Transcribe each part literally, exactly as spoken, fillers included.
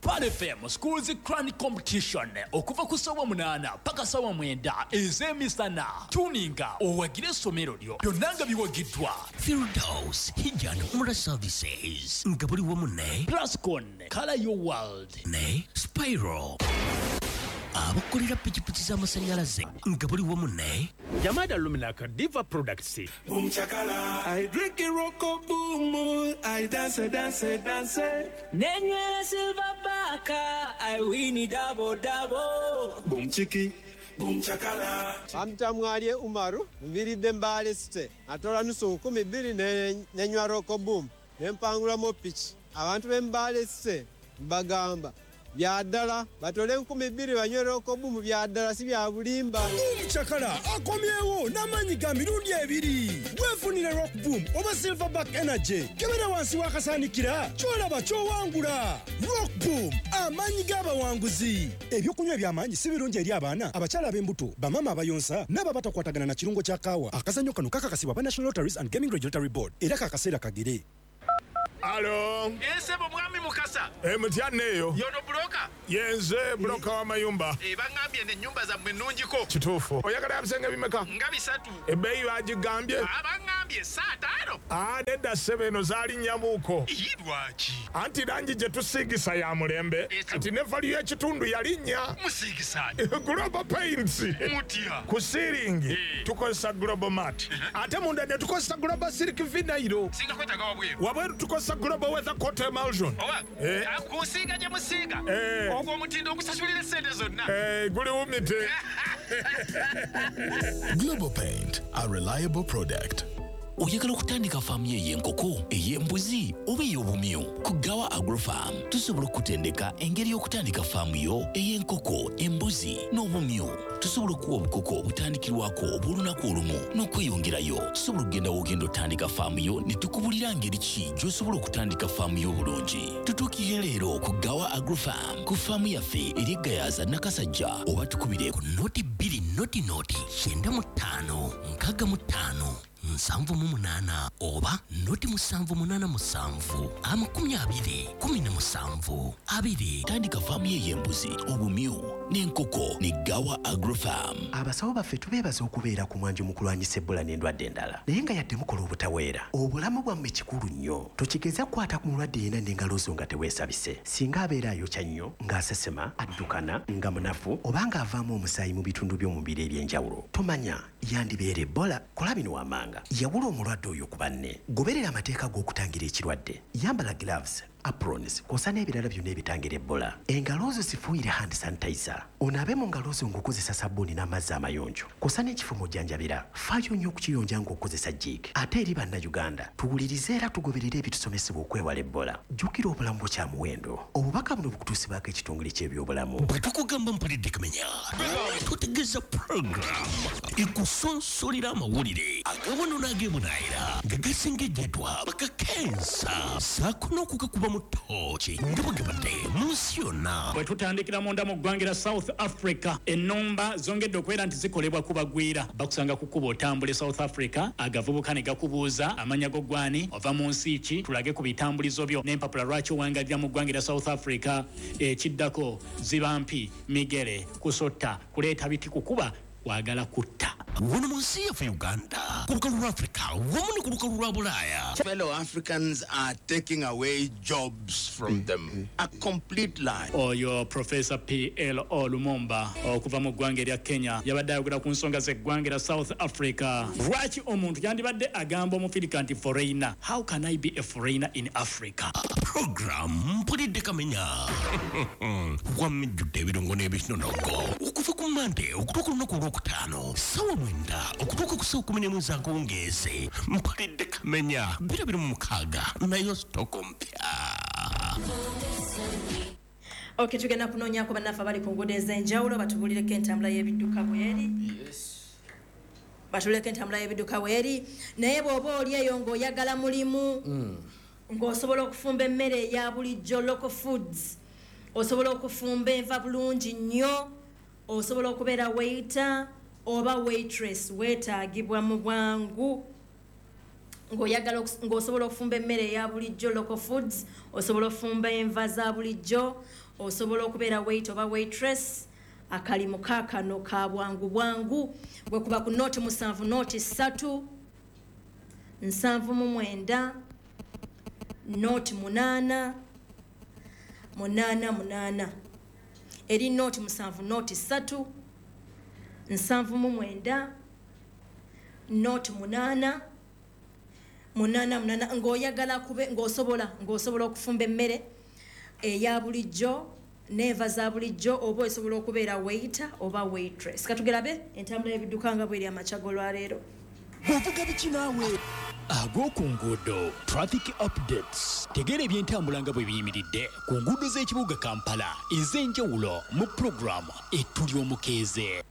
Pearl F M Schools Cran Competition okuva ku ssaawa munaana paka ssaawa mwenda ez'emisana. Tuninga owagire essomero lyo, byonna nga biwagiddwa Firdaus Hijjan Umrah Services nga buli wamu ne Plascon Color Your World ne Spiral abakolera pikipiki z'amasannyalaze nga buli wamu ne Jamada Luminaka Diva Products. Boom chakala. I drink it roko boom. I dance, dance, dance. Nenywera silver baka. I win double double. Boom chiki. Boom chakala. Bamtamwalye Umaru, nviridde Mbale City. Atola nusu nkumi bbiri ne- nenywa Roco Boom ne mpangulamu piki. Abantu b'e Mbale City mbagamba bya ddala, batole enkumi bbiri banywe Roco Boom, bya ddala, si bya bulimba. Boom Chakala akomyewo n'amaanyi ga mirundi ebiri. Weefunire Rock Boom oba Silverback Energy. Kebera wansi w'akasaanikira, ky'olaba ky'owangula. Rock Boom, amaanyi g'abawanguzi. Ebyokunywa eby'amaanyi si birungi eri abaana, abakyala ab'embuto, bamaama abayonsa n'abo abatakwatagana na kirungo kya kaawa. Akazannyo kano kakakasibwa aba National Lotteries and Gaming Regulatory Board era kakaseera kagere. Alo. Esebo mwami Mukasa. E, mutya eyo? Yono broker? Yenze broker w'amayumba. E, baŋŋambye n'ennyumba zammwe nnungiko. Kituufu. Oyagala ebisenge bimeka? Nga bisatu. Ebbeeyi bagigambye? Baŋŋambye saataano. Aa, nedda ssebe, eno zaalinnya-muko. Ii, lwaki? Anti langi gye tusiigisa ya mulembe. Kati ne value y'ekitundu yalinnya. Musiigisaani? Global Paints. Mutya? Ku ceiling tukozesa Global Mat, ate munda ne tukozesa Global Silk Vinyl. Singa kwetaaga wabweru? Wabweru tukozesa Global Weather Coat Emulsion. Oba Eh. ah, ku nsiiga gye musiiga, Eh. ogwo omutindo ogusasulira essente zonna. Eh, guli wumite. Global Paint, a reliable product. Oyagala okutandika faamu yo ey'enkoko, ey'embuzi oba ey'obumyu? Ku Gawa Agrofarm tusobola okutendeka engeri y'okutandika faamu yo ey'enkoko, embuzi n'obumyu. Tusobola okuwa obukoko obutandikirwako obw'olunaku olumu n'okweyongerayo. Tusobola okugenda w'ogenda otandika faamu yo ne tukubulira ngeri ki gy'osobola okutandika faamu yo obulungi. Tutuukire leero ku Gawa Agrofarm ku faamu yaffe eri Gayaza Nakasajja, oba tukubire ku noti bbiri noti noti kyenda mu ttaano nkaaga mu ttaano nsanvu mu munaana oba noti musanvu munaana musanvu amakumi abiri kumi na musanvu abiri. Tandika faamu ye ey'embuzi, obumyu n'enkoko ne Gawa Agrofarm. Abasawo baffe tubeebaza okubeera ku mwanjo mu kulwanyisa Ebola n'endwadde endala, naye nga yadde mukola obutaweera, obulamu bwammwe kikulu nnyo. Tokigeza kukwata ku mulwadde yenna n'engalo zo nga teweesabise. Singa abeera ayokya nnyo, ng'asesema, addukana, nga munafu oba ng'avaamu omusaayi mu bitundu by'omubiri eby'enjawulo, tomanya yandibeera Ebola. Kola bino wammanga: yawula omulwadde oyo ku banne, goberera amateeka g'okutangira ekirwadde, yambala gloves, aprons kw'ossa n'ebirala byonna ebitangira Ebola. Engalo zo zifuuyire hand sanitizer, onaabe mu ngalo zo ng'okozesa sabbuuni n'amazzi amayonjo kw'ossa n'ekifo mw'ojjanjabira, faayo nnyo okukiyonja ng'okozesa Jik. Ate eri Bannayuganda, tuwulirize era tugoberere ebitusomesebwa okwewala Ebola. Jjukira, obulamu bwo kya muwendo. Obubaka buno bukutuusibwako ekitongole ky'ebyobulamu. Bwe tukugamba Mpulidde Kamenya, tutegeeza puroguramu ekusonsolera amawulire agawono n'ag'ebunaayira nga gasengejjeddwa bakakensa saako n'okugakuba mu ttooki nga bwe mu nsi yonna. Bwe tutandikira munda mu ggwanga lya South Africa, ennumba zongedde okubeera nti zikolebwa ku bagwira. Bakusanga ku kkubo otambula e South Africa, agavubuka ne gakubuuza amanya go, gwani, ova mu nsi ki, tulage ku bitambulizo byo n'empapula lwaki owangalira mu ggwanga lya South Africa. Ekiddako ziba mpi, migere, kusotta, kuleeta biti, kukuba, kwagala kutta. Wano mu nsi yaffe Uganda, ku lukalu lwa Africa wamu ne ku lukalu lwa Bulaaya, Fellow Africans are taking away jobs from them. A complete lie. Oyo Profesa P L O Lumumba okuva mu ggwanga erya Kenya yabadde ayogera ku nsonga z'eggwanga erya South Africa. Lwaki omuntu yandibadde agamba Omufirika nti foreigner? How can I be a foreigner in Africa? Program Mpulidde Kamenya wamijjudde ebirungo n'ebinonogo okuva ku Mande okutuuka olunaku olwokutaano sawa mwenda okutuuka ku sawa kumi n'emu ez'akawungeezi. Mpulidde Kamenya biro biri mu mukaaga, nayo stock mpya. Ok, tugenda kunoonyako bannaffe abali ku nguudo ez'enjawulo batubulireko entambula y'ebidduka bweri, batuleko entambula y'ebidduka bweri. Naye bw'oba oli eyo ng'oyagala mulimu, ng'osobola okufumba emmere eya bulijjo, local foods, osobola okufumba enva bulungi nnyo, osobola okubeera waiter oba waitress, weetaagibwa mu bwangu. Ng'oyagala ng'osobola okufumba emmere eya bulijjo local foods, osobola okufumba enva za bulijjo, osobola okubeera wait oba waitress. Akalimu kaakano ka bwangu bwangu bwe kuba ku nooti musanvu nooti ssatu nsanvu mu mwenda nooti munaana munaana munaana eri nooti musanvu nooti ssatu nsanvu mu mwenda nooti munaana munaana munaana. Ng'oyagala kube ng'osobola ng'osobola okufumba emmere eya bulijjo n'enva za bulijjo oba osobola okubeera waiter oba waitress. Katugerabe entambula y'ebidduka nga bweri amakya g'olwaleero. Bw'ovuga biki naawe? Ag'oku nguudo traffic updates. Tegeera ebyentambula nga bwe biyimiridde ku nguudo z'ekibuga Kampala ez'enjawulo mu pulogulaamu Etuli Omukeeze.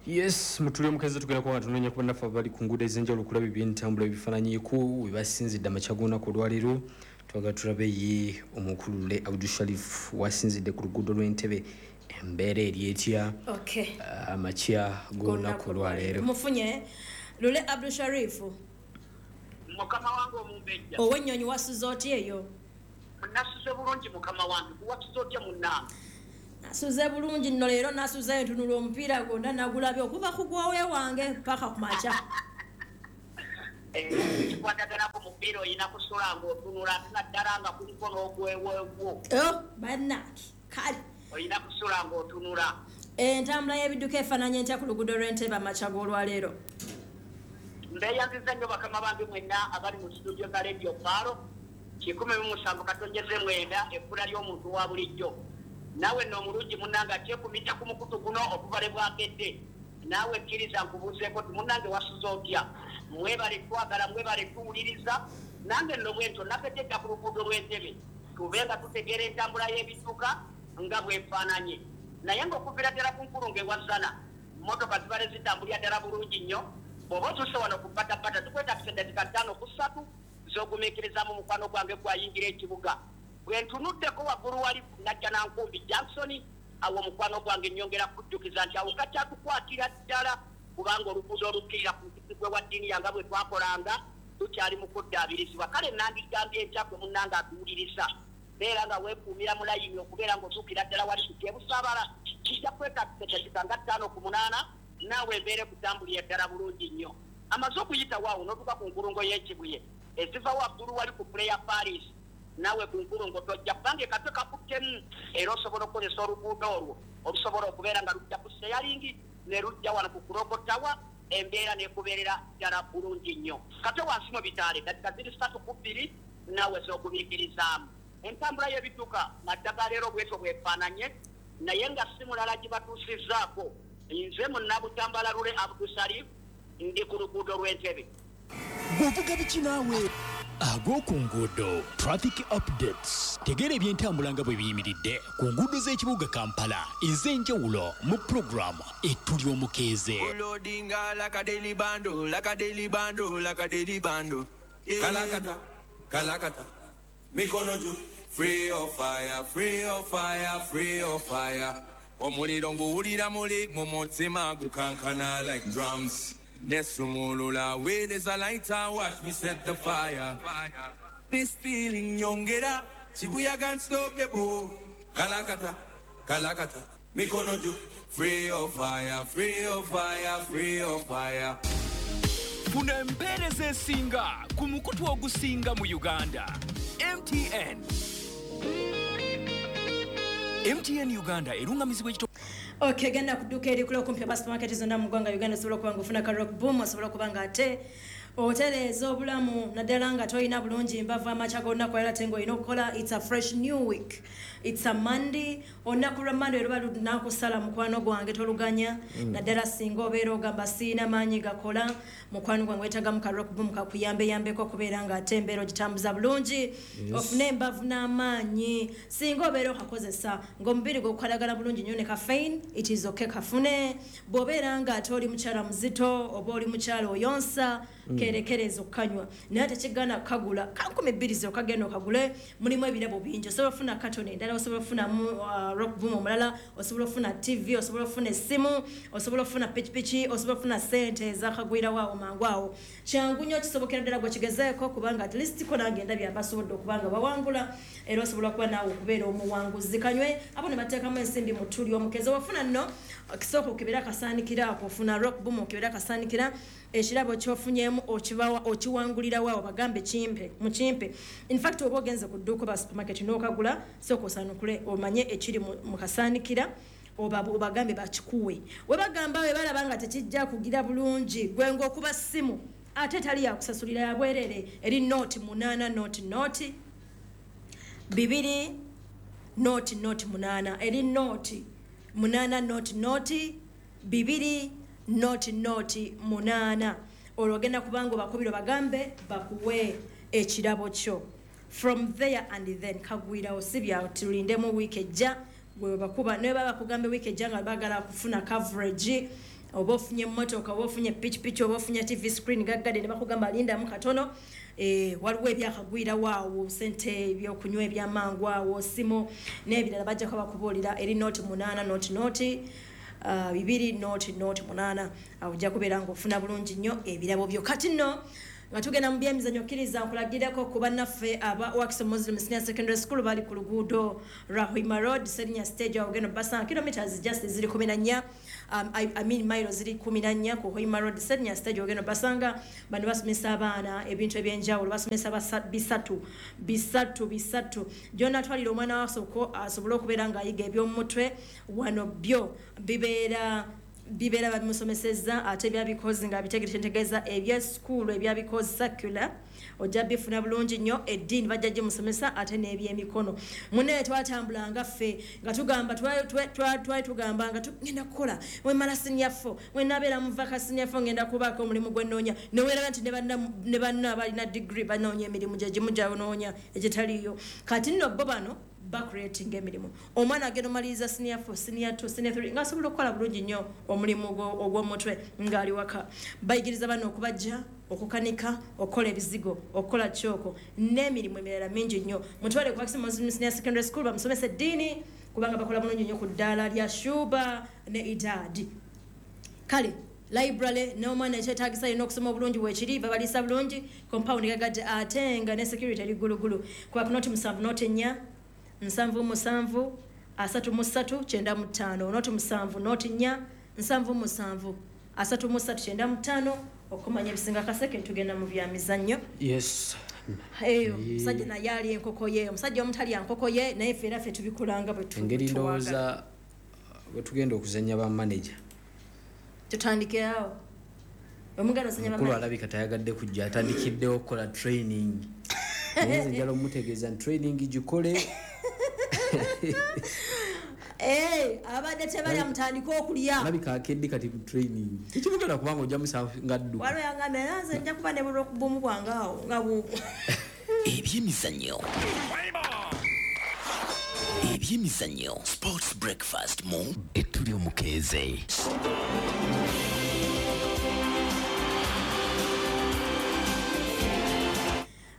Yes, mutuli omukeeze tugenda kuba nga tunoonya ku bannaffe abali ku nguudo ez'enjawulo okulaba ebyentambula ebifaananyiiko we basinzidde amakya g'olunaku olwaleero. Twagala tulabe ye omukulu Lule Abdul Sharif wasinzidde ku luguudo lw'Entebbe, embeera eri etya amakya g'olunaku olwaleero. Mufunye Lule Abdul Sharif. Mukama wange omumbejja. Ow'ennyonyi wasuze otya eyo? Nasuze bulungi mukama wange, wasuze otya munnange? Nasuze bulungi nno leero nasuzeyo ntunula omupiira gwonna nagulabye okuva ku gwowe wange paka ku makya. Kikwatagana ku mupiira olina kusula ng'otunula ate naddala nga kuliko n'ogweweegwo. Bannange kale. Olina kusula ng'otunula. Entambula y'ebidduka efaananye ntya ku luguudo lw'Entebbe amakya g'olwaleero? Mbeeyanziza nnyo bakama bange mwenna abali mu studio za Radio Paalo kikumi mu musanvu katonyeze mwenda ekkula ly'omuntu wa bulijjo. Naawe nno omulungi munnange akyekumita ku mukutu guno okuva lwe bwakedde. Naawe kkiriza nkubuuzeeko nti munnange wasuze otya? Mwebale twagala, mwebale tuwuliriza. Nange nno bwentyo nakedde dda ku luguudo lw'Entebbe tube nga tutegeera entambula y'ebidduka nga bwefaananye. Naye ng'okuviira ddala ku nkulungo ewa Zzana, mmotoka zibale zitambulira ddala bulungi nnyo. Bw'oba otuuse wano ku Ppatapata tukwetagisa eddakiika ttaano ku ssatu z'ogumiikirizamu mukwano gwange gwayingira ekibuga. Bwe ntunuddeko waggulu wali Najjanankumbi Johnson, awo mukwano gwange nnyongera kujjukiza nti awo kakyatukwatira ddala kubanga oluguudo olukkirira ku nzizi gwe wa ddiini yanga bwe twakolanga tukyali mu kuddaabirizibwa. Kale nandigambye enkya gwe munnange atuwuliriza beera nga weekuumira mu layini okubeera ng'otuukira ddala wali ku Kyebusaabala. Kijja kwetagisa eddakiika nga ttaano ku munaana naawe embeera ekutambulira ddala bulungi nnyo. Amaze okuyitawo awo n'otuuka ku nkulungo y'Ekibuye eziva waggulu wali ku Player Paris, naawe ku nkulungo tojja kubanga ekatwe kakuttemu era osobola okukozesa oluguudo olwo olusobola okubeera nga lujja ku seyalingi ne lujja wano ku Kurogotawa, embeera n'ekubeerera ddala bulungi nnyo. Kate wansi mu bitaale dakika ziri ssatu ku bbiri naawe z'ogumiikirizaamu. Entambula y'ebidduka maddaga leero bwetyo bwefaananye naye nga si mulala gibatuusizzaako. Nze Munnabutambala Lule Abdul Sharif ndi ku luguudo lw'Entebbe. Bw'ovuga biki naawe? Ag'oku nguudo traffic updates. Tegeera ebyentambula nga bwe biyimiridde ku nguudo z'ekibuga Kampala ez'enjawulo mu pulogulaamu Etuli Omukeeze. Loadinga like a daily bando, like a daily bando, like a daily bando. Kalakata, kalakata, mikono juu. Free of fire, free of fire, free of fire. Omuliro nguwulira muli mu mutima gukankana like drums. Nesumulula with is a lighter, watch me set the fire. This feeling nyongera, Shibuya can't stop the boo. Kalakata, kalakata, mikono juu. Free of fire, free of fire, free of fire. Funa empeereza esinga ku mukutu ogusinga mu Uganda. M T N. M T N Uganda erungamizibwa ekito. Okay, genda kuduka eri kula okumpi aba supermarket zonna mu ggwanga Uganda osobola okuba nga ofuna ka Rock Boom, osobola okuba nga ate otereeza obulamu naddala nga tolina bulungi mbavu amakya g'olunaku era ate ng'olina okukola. It's a fresh new week, it's a Monday. Olunaku lwa Monday luba lunakusala mukwano gwange toluganya mm. Naddala singa obeera ogamba siina maanyi gakola, mukwano gwange weetagamu ka Rock Boom kakuyambeyambeko okubeera nga ate embeera ogitambuza bulungi. Yes. Ofune embavu n'amaanyi singa obeera okakozesa ng'omubiri gwo gukalagala bulungi nnyo ne caffeine, it is okay kafune. Bw'obeera nga ate oli mukyala muzito oba oli mukyala oyonsa, Kerekereza okanywa naye tekigana kagula kankumi bbiri zokka genda okagule. Mulimu ebirabo bingi, osobola ofuna katoni endala, osobola ofunamu uh, rock boom omulala, osobola ofuna T V, osobola ofuna essimu, osobola ofuna pikipiki, osobola ofuna sente ezakagwirawo awo mangu awo. Kyangu nnyo, kisobokera ddala gwe kigezeeko, kubanga at least ko nange ndabye abasobodde okubanga bawangula, era osobola kuba naawe okubeera omuwanguzi. Kanywe abo ne bateekamu ensimbi mu ttuli omukeze. Wafuna nno kisooka okebera akasaanikira ako, ofuna rock boom okebera akasaanikira, ekirabo ky'ofunyemu okibawa okiwangulirawo awo, bagambe kimpe mukimpe. In fact oba ogenze ku dduuka ba supermarket n'okagula, sooka osaanukule omanye ekiri mu kasaanikira, obagambe bakikuwe. We bagamba we balaba nga tekijja kugira bulungi, gwe ng'okuba ssimu ate tali yakusasulira yabwerere, eri nooti munaana nooti nooti bibiri nooti nooti munaana, eri nooti munaana nooti nooti bibiri nooti nooti munaana. Olwo ogenda kubanga obakubira bagambe bakuwe ekirabo kyo. From there and then kagwirawo, si bya tulindemu wiiki ejja gwe bakuba. Naye baba bakugambe wiiki ejja nga baagala kufuna coverage, oba ofunye emmotoka, oba ofunye pikipiki, oba ofunye T V screen gaggadde, ne bakugamba lindamu katono, eh, waliwo ebyakagwirawo awo, sente, ebyokunywa ebyamangu awo, simu n'ebirala, bajjako bakubuulira. Eri nooti munaana nooti nooti Uh, bibiri nooti nooti munaana. Awo ojja kubeera ng'ofuna bulungi nnyo ebirabo byo. Kati nno nga tugenda mu byemizannyo, kkiriza nkulagireko ku bannaffe aba Wakiso Muslim Senior Secondary School, bali ku luguudo lwa Hoima Road, Senior Stage, awo ogenda obasanga kilometers just ziri kumi na nnya, um, I, I mean mailo ziri kumi na nnya ku Hoima Road Senior Stage, ogenda obasanga. Bano basomesa abaana ebintu ebyenjawulo, basomesa bisatu bisatu bisatu. Gy'onaatwalira omwana wa asobole okubeera ng'ayiga eby'omutwe, wano byo bibeera bibeera babimusomesezza, ate byabikozi nga bitegere kyentegeeza ebyesikuulu ebyabikozi circular ojja bifuna bulungi nnyo. Eddiini bajja gimusomesa, ate n'ebyemikono. Munnaye twatambulanga ffe nga tugamba twali tugamba nga tugenda kukola wemala senior four, wenabeera mu vaka senior four ngenda kubaako omulimu gwe nnoonya, neweeraba nti ne banna abalina degree banoonya emirimu gye gimu gyanoonya egitaliiyo. Kati nno bo bano bacreating emirimu. Omwana agenda omaliriza senior four, senior two, senior three ng'asobola okukola bulungi nnyo omulimu ogw'omutwe ng'ali waka. Bayigiriza bano okubajja, okukanika, okukola ebizigo, okukola kyoko n'emirimu emirala mingi nnyo. Mutwale ku Wakiso Muslim Senior Secondary School bamusomesa eddiini, kubanga bakola bulungi nnyo ku ddaala lya Shuba ne Idadi. Kale library n'omwana ekyetaagisa yina okusoma obulungi weekiri, babaliisa bulungi, compound gagadde, ate nga ne security eri ggulugulu. Kuba ku nooti musanvu nooti nnya nsanvu musanvu asatu mu ssatu kyenda mu ttaano, nooti musanvu nooti nnya nsanvu musanvu asatu mu ssatu kyenda mu ttaano. Okumanya ebisinga kaseke tugenda mu byamizannyo. Yes. Eyo omusajja naye ali enkoko ye, omusajja omutalya nkoko ye, naye ffe era ffe tubikolanga bwe tu. Engeri ndowooza bwe tugenda okuzannya ba manager tutandikirawo. Omuganda ozannya ba mukulu alabika tayagadde kujja, atandikiddewo okukola training. Naye nze njala omutegeeza nti training gikole. Eh, abadde tebalya mutandika okulya. Alabika akedde kati ku training. Tekimugenda kubanga ojja musanga ngadduka. Waliwo yangambye nze nja kuba ne rock boom bwange awo nga bu. Ebyemizannyo. Ebyemizannyo. Sports breakfast mu etuli omukeeze.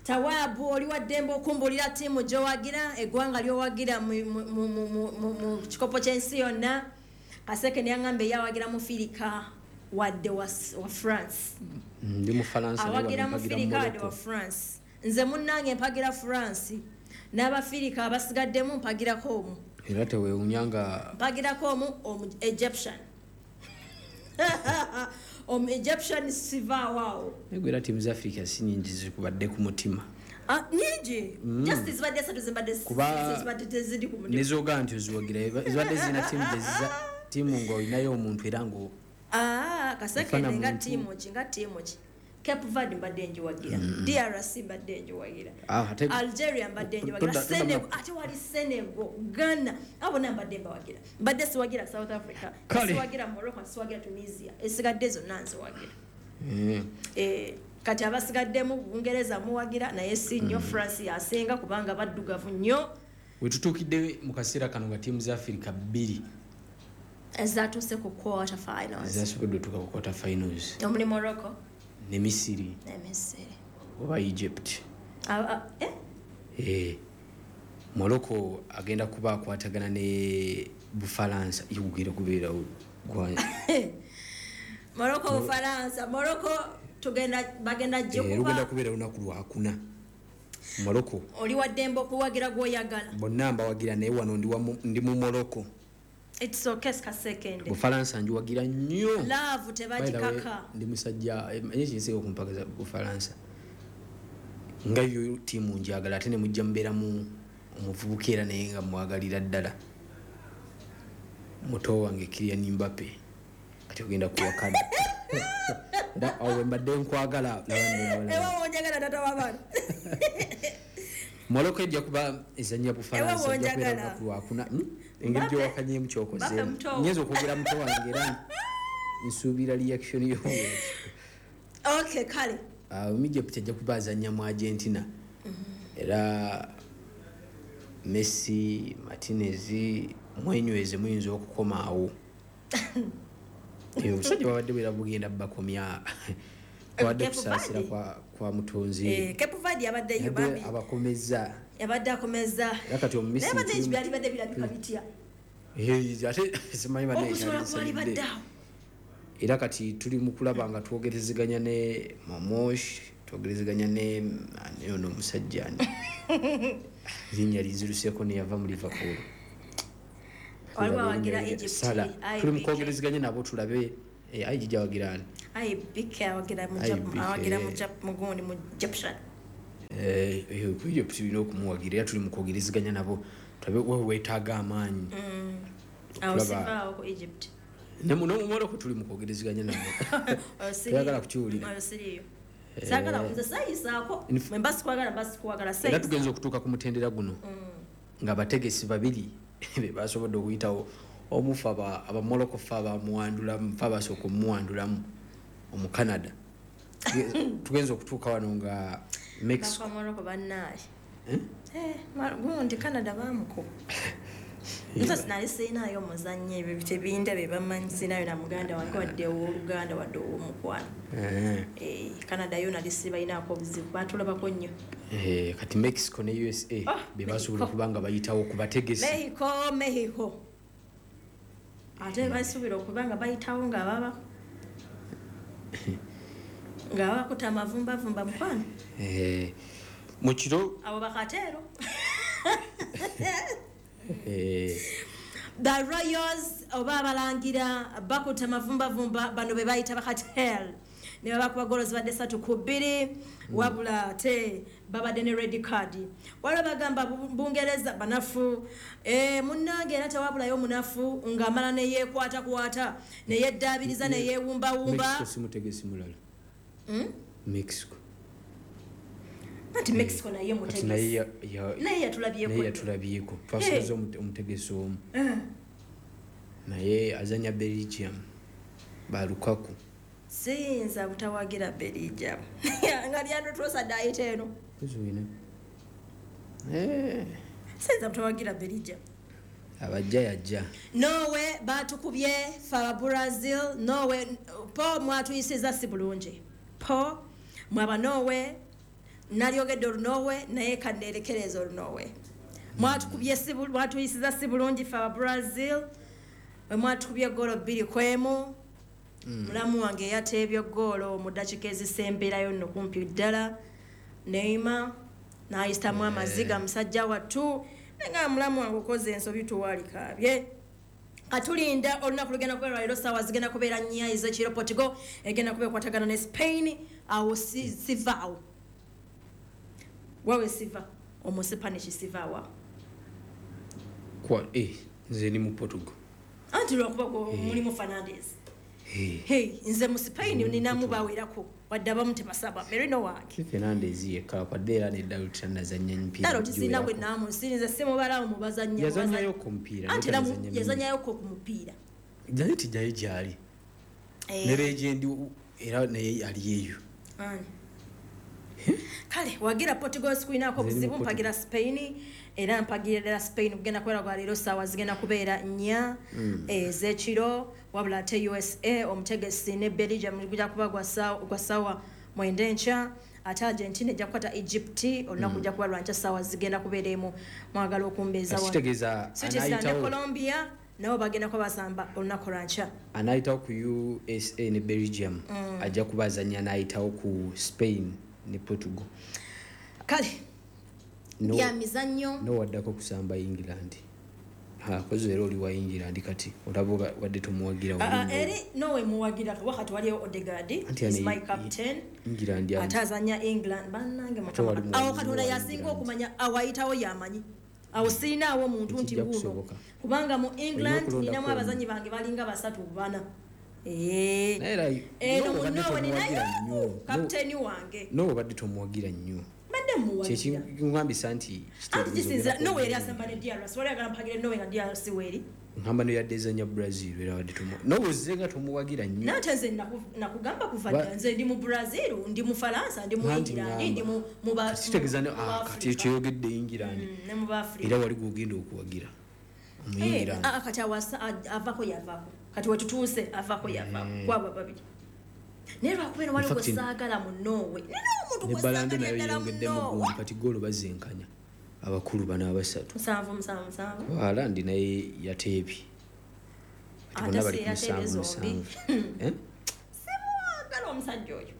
Tawaabu oli wa ddembe okumbulira ttiimu gy'owagira, eggwanga ly'owagira mu kikopo ky'ensi yonna. Kaseke ne yangamba eyawagira mu Firika wadde wa France. Ndi mu Faransa. Awagira mu Firika wadde wa France. Nze munnange mpagira France. N'Abafirika abasigaddemu mpagirako omu. Era teweewuunya nga mpagirako omu omu Egyptian. Omu Egyptian sivaawo awo. Naye era ttiimu za Africa si nnyingi zikubadde ku mutima. Ah, nnyingi. Just zibadde esatu zibadde zibadde teziri ku mutima. Nezooga nti oziwagira zibadde zirina ttiimu gye ttiimu ng'olinayo omuntu era ng'o. Ah, Kaseke nga ttiimu ki nga ttiimu ki. Cape Verde mbadde njiwagira, mm. D R C mbadde njiwagira, ah, Algeria mbadde njiwagira, Senegal, ate wali Senegal, Ghana, abo na mbadde mbawagira. Mbadde siwagira South Africa, siwagira Morocco, siwagira Tunisia, esigadde zonna nziwagira. Mm. Eh, kati abasigaddemu Bungereza muwagira naye si nnyo, mm. France yasinga kubanga baddugavu nnyo. Wetutuukidde mu kaseera kano nga ttiimu za Africa bbiri ezaatuuse ku quarter finals. Zasobodde otuuka ku quarter finals. Omuli Morocco Ne Misiri. Ne Misiri. Oba Egypt. Ah, eh? Eh. Morocco agenda kuba akwatagana ne Bufalansa yugire kubeera gwa Morocco Bufalansa Morocco tugenda bagenda jikuba. Eh, rugenda kubeera lunaku lwakuna. Morocco. Oli wa dembo kuwagira gwoyagala. Bonna mbawagira naye wano ndi wa ndi mu Morocco. It's okay ka second. Bufalansa njiwagira nnyo. Love tebagikaka. Ndi musajja enye kinsinga okumpagaza Bufalansa. Nga yo tiimu njagala ate ne mujja mbeera mu omuvubuka era naye nga mwagalira ddala. Muto wange Kylian Mbappe kati ogenda kuwakana. Da awe mbadde nkwagala. Ewa wonjagala tata w'abaana. Morocco ejja kuba ezannya Bufalansa ejja kubeera lunaku lwakuna. Engeri gy'owakanyemu ky'okoze. Nnyinza okwogera muto wange era nsuubira reaction yo. Okay, kale. Uh, Egypt ejja kuba azannya mu Argentina. Era Messi, Martinez mwenyweze muyinza okukoma awo. Eyo omusajja babadde bwera bugenda bakomya. Babadde kusaasira kwa, kwa mutonzi. Eh, Cape Verde yabaddeyo bambi. Abakomeza. Yabadde akomeza. Era kati Omumisiri. Naye badde ekibyali badde birabika bitya. Eh, ate simanyi banne Okusobola kwali badde awo. Era kati tuli mu kulaba nga twogerezeganya ne Mamosh, twogerezeganya ne ani ono omusajja ani. Linnya linziruseeko ne yava mu Liverpool. Waliwo awagira Egypt. Salah. Tuli mu kwogerezeganya nabo tulabe eh ayi awagira ani. Ayi B K awagira mu Jap awagira mu Jap mugundi mu Egyptian. Eh eyo ku Egypt tulina okumuwagira era tuli mu kwogerezeganya nabo tulabe wewe weetaaga amaanyi. Mm. Awo sivaawo ku Egypt. Ne muno mu Morocco tuli mu kwogerezeganya nabo. Oyagala kukiwulira. Oyo siriyo. Saagala nze sayisaako. Mwe mba sikwagala mba sikwagala Era tugenze okutuuka ku mutendera guno. Nga bategesi babiri be basobodde okuyitawo omufa aba aba Morocco fa bamuwandulamu fa basooka omuwandulamu omu Canada. Tugenze okutuuka wano nga Mexico. Bafa Morocco bannaaye. Eh? Eh, gundi Canada baamukuba. Nze sinali sirinayo muzannyo ebyo tebinda bye bamanyi sirinayo na muganda wange wadde ow'oluganda wadde ow'omukwano. Eh. Eh, Canada yo nali sibalinaako obuzibu baatulabako nnyo. Eh, kati Mexico ne U S A be basobola okuba nga bayitawo ku bategesi. Mexico, Mexico. Ate basuubira okuba nga bayitawo nga baba nga babakuta amavumbavumba mukwano. Eh, mu kiro abo bakateero. Eh. The Royals oba abalangira bakuta amavumbavumba bano be bayita bakatel. Ne babakuba goolo zibadde ssatu ku bbiri wabula ate babadde ne red card. Waliwo bagamba Bungereza banafu. Eh, munnange era tewabulayo munafu ng'amala ne yeekwatakwata ne yeddaabiriza ne yeewumbawumba. Mexico si mutegesi mulala. Mm? Mexico. Anti Mexico naye mutegesi. Naye ya naye yatulabyeko. Naye yatulabyeko. Twasigaza omutegesi omu. Naye azannya Belgium ba Lukaku. Siyinza butawagira Belgium. Nga Leandro Trossard ayita eno. Kuzuina. Eh. Siyinza butawagira Belgium. Abajja yajja. Norway batukubye fa Brazil. Norway po mwatuyisiza si bulungi. Po mwaba Norway nalyogedde olunorway naye kanneerekereza olunorway. Mwatukubye si mwatuyisiza si bulungi fa Brazil. Mwatukubye goolo bbiri ku emu. Mulamu wange yateebye goolo mu ddakiika ezisemberayo nno kumpi ddala. Neymar n'ayitamu amaziga musajja wattu. Nga mulamu wange okoze ensobi tuwalikaabye. Katulinda olunaku lugenda kubeera leero ssaawa zigenda kubeera nnya ez'ekiro. Portugal egenda kuba ekwatagana ne Spain. Awo sivaawo. Wawe siva omusipanish sivaawo. Kwa eh nze ni mu Portugal. Anti lwakuba mulimu Fernandes. Hey, nze mu Spain ninamu bawerako wadde abamu tebasaba Merino wange. Fernandes yekka kwadde era ne Dalot tanazannya emipiira. Dalot sirina gwe naamusinze simubalaawo mu bazannya. Yazannyayo ku mupiira. Anti yazannyayo ku mupiira. Dalot jayo gyali. Ne legend era naye ali eyo. Ani. Kale wagira Portugal sikuinako buzibu mpagira Spain era mpagira ddala Spain kugenda kubeera gwa leero ssaawa zigenda kubeera nnya ez'ekiro wabula ate U S A omutegesi ne Belgium gujja kuba gwa ssaawa gwa ssaawa mwenda enkya. Ate Argentina ejja kukwata Egypt olunaku lujja kuba lwa nkya ssaawa zigenda kubeera emu. Mwagala okumbeeza wano. Kitegeeza Switzerland ne Colombia nabo bagenda kuba basamba olunaku lwa nkya. Anayitawo ku U S A ne Belgium Mm. ajja kuba azannya n'ayitawo ku Spain ne Portugal. Kale No- bya mizannyo. No waddako kusamba England. Ha, kozi era oli wa England kati olaba oba wadde tomuwagira Ah, ah, wali eri Norway muwagira kuba kati waliyo Odegaard Anti is yani- my captain England yani. ate azannya England bannange Ate Mukama wali awo muwagizi Katonda wa yasinga okumanya awayitawo yamanyi awo sirinaawo muntu nti Tekijja wuuno kusoboka. kubanga mu England okulondako ninamu omu. abazanyi bange balinga basatu bana. Eh. Naye era Eno Norway mu obadde Norway tomuwagira ninayo nnyo. kapiteeni wange Norway obadde tomuwagira nnyo. mbadde muwagira Kyekiŋŋambisa nti anti kisinzira kitegeeza Norway eri asamba ne D R C wali ayagala mpagire Norway nga D R C weeri ŋŋamba no yadde ezannya Brazil era wadde tomu Norway ozze nga tomuwagira nnyo. naye ate nze naku- nakugamba kuva Ba- dda nze ndi mu Brazil ndi mu Faransa ndi mu Anti England ŋŋamba. ndi mu mu ba- Kitegeeza ne mu ah, ba kati Africa. kyeyogedde England Mm, ne mu ba Africa. era wali gw'ogenda okuwagira Eh, Omuyingirandi. ah, kati awasa a- avako yavako kati wetutuuse avako yavako Mm. kwabo babiri naye lwakubeera waliwo In fact, gwe saagala mu Norway nina omuntu ne gwe Balando saagala nayo ddala mu yeyongeddemu Norway goolo kati goolo bazenkanya abakulu bano abasatu. musanvu musanvu musanvu Haaland naye yateebye. Kati ate bonna bali si ku yateebye musanvu zombi musanvu. Eh? simwagala omusajja oyo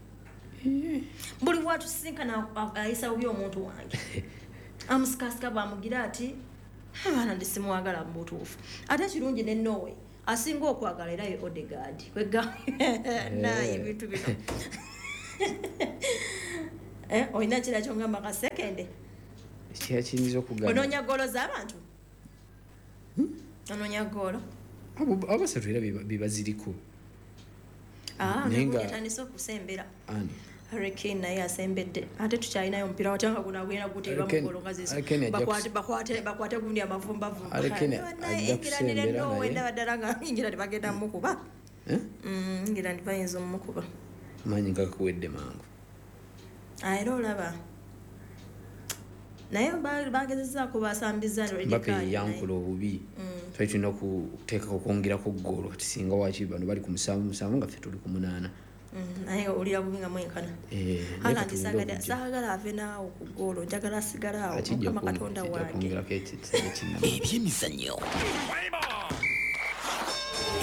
buli watusisinkana a- ayisa bubi omuntu wange amusikasika bwamugira ati abaana ndi simwagala mu butuufu ate kirungi ne Norway asinga okwagala era ye Odegaard kwega naye ebintu bino Eh, olina kira kyongamba kasekende Ekirala kiyinza okugamba onoonya goolo z'abantu onoonya goolo Abo- abasatu era be- be baziriko. Ah, Naye nga- yatandise okusembera Ani? Harry Kane naye asembedde ate tukyalinayo omupiira watya nga guno agenda guteeba Harry Kane- mu ggoolo nga zizo Harry Kane ajja bakwate kus- bakwate bakwate gundi amavumbavumba Harry Kane ajja kusembera naye. ndaba ddala nga England bagenda mumukuba Eh? Mm, England bayinza omumukuba Maanyi nga gakuwedde mangu. Ah, era olaba naye ba- bagezezzaako basambiza red Mbappe card naye. yeyankula obubi. Mm. Twali tulina okuteekako okwongerako goolo kati singa waaki bano bali ku musanvu musanvu nga ffe tuli ku munaana. Mm, naye owulira bubi nga mwenkana Eh, naye Haaland kati tulinde saagala okujja. saagala ave naawo ku ggoolo njagala asigale awo Akijja Mukama kwong- Katonda kijja wange kwongerako ekisenge kinnama. Ebyemizannyo.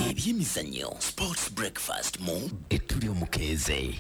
Ebyemizannyo. Sports Breakfast mu Etuli Omukeeze.